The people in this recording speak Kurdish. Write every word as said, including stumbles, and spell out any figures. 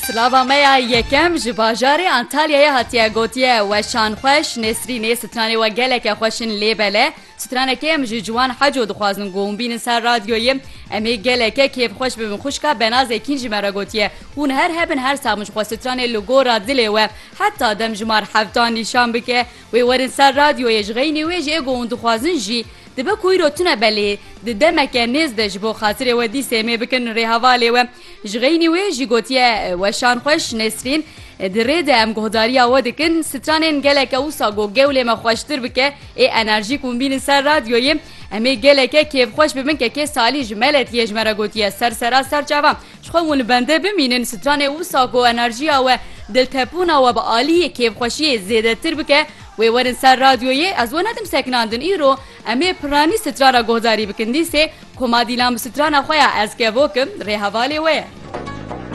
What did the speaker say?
Silava me ya yekem ji bajarê Antalyayê hatiye gotiye, weşan xweş, Nesrînê, stranê we geleke xweş in lê bele. Stranekê em ji ciwan heco dixwazin ku hûn bînin ser radyoyê. Em ê geleke kêfxweş bibin. Xwişka Benazê Kîn ji me re gotiye, hûn her hebin her sax bin ji xwe stranê li gora dilê we heta dem ji mar heftan nîşan bike. Wê werin ser radyoyê, ji xeynî wê jî ê ku hûn dixwazin jî dibe ku îro tune belê, di demeke nêz de ji bo xatirê we dîsê em ê bikin rêhevalê we. Ji xeynî wê jî gotiye, weşan xweş Nesrîn, di rê de em guhdariya we dikin. Stranên geleke wisa ku gewlê me xweştir bike, ê enerjî ku hûn bînin ser radyoyê, em ê geleke kêfxweş bibin. Kekê Salî ji Meletiyê ji me re gotiye, ser sera ser çava. Ji xwe hûn li bende bimînin, stranê wisa ku enerjiya we, diltepûna we bi aliyê kêfxweşiyê zêdetir bike, wê werin ser radyoyê, ez we nedim sekinandin. Îro em ê pirranî strana guhdarî bikin. Dîsê Koma Dîlan bi strana xwe ya Ez Kevok im, rêhevalê we ye.